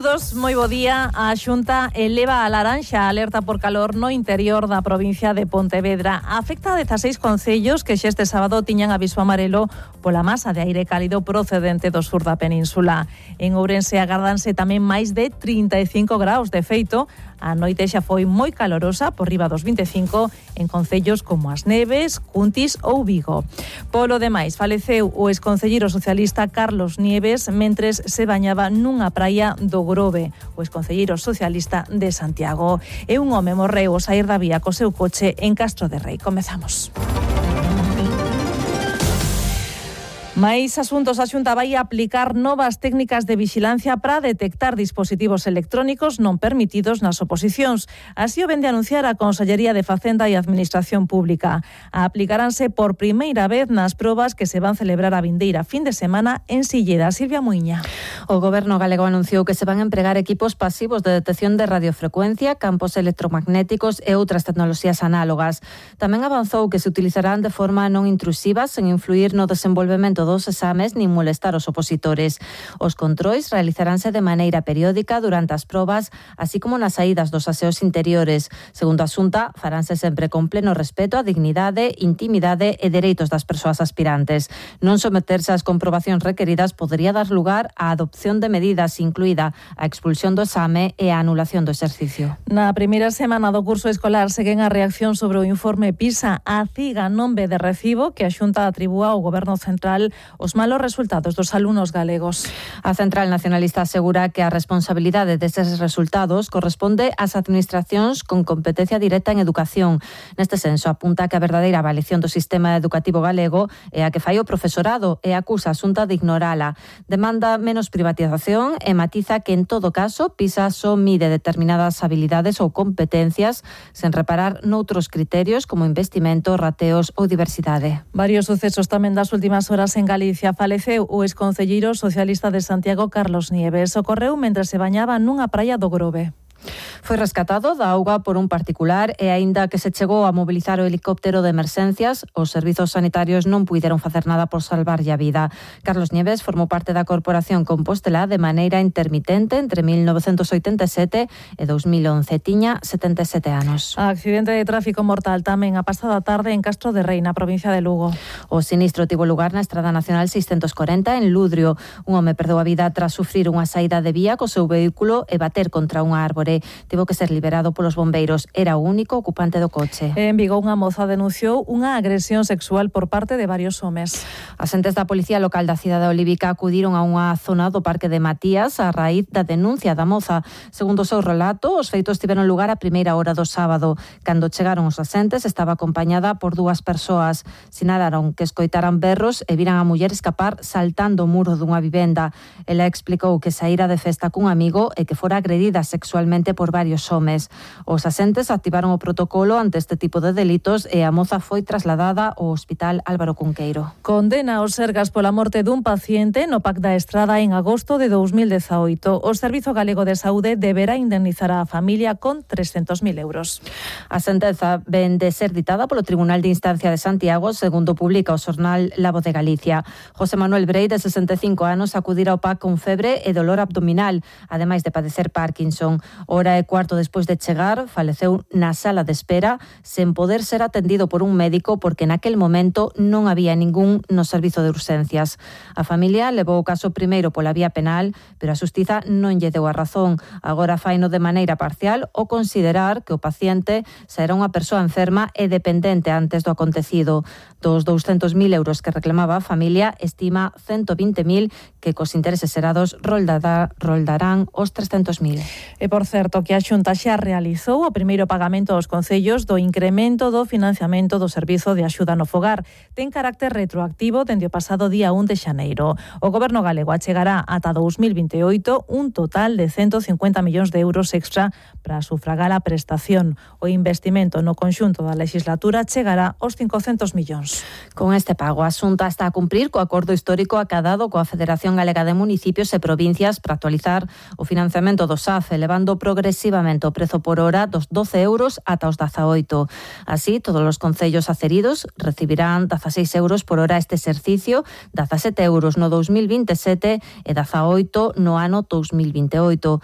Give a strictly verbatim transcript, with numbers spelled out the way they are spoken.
Todos, moi bo día. A Xunta eleva a laranxa a alerta por calor no interior da provincia de Pontevedra. Afecta a dezaseis concellos que xa este sábado tiñan aviso amarelo pola masa de aire cálido procedente do sur da península. En Ourense agárdanse tamén máis de trinta e cinco graus. De feito, a noite xa foi moi calorosa, por riba dos vinte e cinco, en concellos como As Neves, Cuntis ou Vigo. Polo demais, faleceu o exconcelleiro socialista Carlos Nieves mentres se bañaba nunha praia do Grove. O exconcelleiro socialista de Santiago. E un home morreu ao saír da vía co seu coche en Castro de Rei. Comezamos. Mais asuntos. A Xunta vai aplicar novas técnicas de vixilancia para detectar dispositivos electrónicos non permitidos nas oposicións. Así o vende anunciar a Consellería de Facenda e Administración Pública. Aplicaranse por primeira vez nas probas que se van celebrar a vindeira fin de semana en Silleda. Silvia Muiña. O Goberno galego anunciou que se van empregar equipos pasivos de detección de radiofrecuencia, campos electromagnéticos e outras tecnoloxías análogas. Tamén avanzou que se utilizarán de forma non intrusiva, sen influir no desenvolvemento dos exames nin molestar os opositores. Os controis realizaránse de maneira periódica durante as probas, así como nas saídas dos aseos interiores. Segundo a Xunta, faránse sempre con pleno respeto á dignidade, intimidade e dereitos das persoas aspirantes. Non someterse ás comprobacións requeridas podería dar lugar á adopción de medidas, incluída a expulsión do exame e a anulación do exercicio. Na primeira semana do curso escolar seguen a reacción sobre o informe PISA. A CIGA non ve de recibo que a Xunta atribúa ao Goberno Central os malos resultados dos alumnos galegos. A Central Nacionalista asegura que a responsabilidade destes resultados corresponde ás administracións con competencia directa en educación. Neste senso, apunta que a verdadeira avaliación do sistema educativo galego é a que fai o profesorado e acusa a Xunta de ignorala. Demanda menos privatización e matiza que en todo caso PISA só mide determinadas habilidades ou competencias sen reparar noutros criterios como investimento, rateos ou diversidade. Varios sucesos tamén das últimas horas en Galicia. Faleceu o exconcelleiro socialista de Santiago Carlos Nieves. Ocorreu mentre se bañaba nunha praia do Grove. Foi rescatado da auga por un particular e aínda que se chegou a mobilizar o helicóptero de emerxencias, os servizos sanitarios non puideron facer nada por salvarlle a vida. Carlos Nieves formou parte da Corporación Compostela de maneira intermitente entre mil novecentos oitenta e sete e dos mil once. Tiña setenta e sete anos. Accidente de tráfico mortal tamén a pasada tarde en Castro de Rei, na provincia de Lugo. O sinistro tivo lugar na Estrada Nacional seiscentos corenta en Ludrio. Un home perdeu a vida tras sufrir unha saída de vía co seu vehículo e bater contra unha árbore. Tivo que ser liberado polos bombeiros. Era o único ocupante do coche. En Vigo, unha moza denunciou unha agresión sexual por parte de varios homes. As entes da Policía Local da cidade olívica acudiron a unha zona do Parque de Matías a raíz da denuncia da moza. Segundo o seu relato, os feitos tiveron lugar a primeira hora do sábado. Cando chegaron os asentes, estaba acompañada por dúas persoas. Sinalaron que escoitaran berros e viran a muller escapar saltando o muro dunha vivenda. Ela explicou que saíra de festa cun amigo e que fora agredida sexualmente por varios homes. Os asentes activaron o protocolo ante este tipo de delitos e a moza foi trasladada ao Hospital Álvaro Cunqueiro. Condena aos Sergas pola morte dun paciente no P A C da Estrada en agosto de dous mil dezaoito. O Servizo Galego de Saúde deberá indemnizar a familia con trescentos mil euros. A sentenza ven de ser ditada polo Tribunal de Instancia de Santiago, segundo publica o xornal La Voz de Galicia. José Manuel Brei, de sesenta e cinco anos, acudira ao P A C con febre e dolor abdominal, ademais de padecer Parkinson. Hora e cuarto despois de chegar, faleceu na sala de espera sen poder ser atendido por un médico porque naquel momento non había ningún no servizo de urxencias. A familia levou o caso primeiro pola vía penal, pero a xustiza non lle deu a razón. Agora faino de maneira parcial o considerar que o paciente xa era unha persoa enferma e dependente antes do acontecido. Dos douscentos mil euros que reclamaba a familia, estima ciento vinte mil que cos intereses xerados roldarán os trescentos mil. E por certo que a Xunta xa realizou o primeiro pagamento aos concellos do incremento do financiamento do Servizo de Axuda no Fogar. Ten carácter retroactivo dende o pasado día un de xaneiro. O Goberno galego achegará ata dous mil vinte e oito un total de ciento cincuenta millóns de euros extra para sufragar a prestación. O investimento no conxunto da legislatura chegará aos cincocentos millóns. Con este pago, a Xunta está a cumprir co acordo histórico acadado coa Federación Galega de Municipios e Provincias para actualizar o financiamento do S A F, elevando progresivamente o prezo por hora dos doce euros ata os dezaoito. Así, todos os concellos aceridos recibirán dezaseis euros por hora este exercicio, dezasete euros no dous mil vinte e sete e dezaoito no ano dous mil vinte e oito.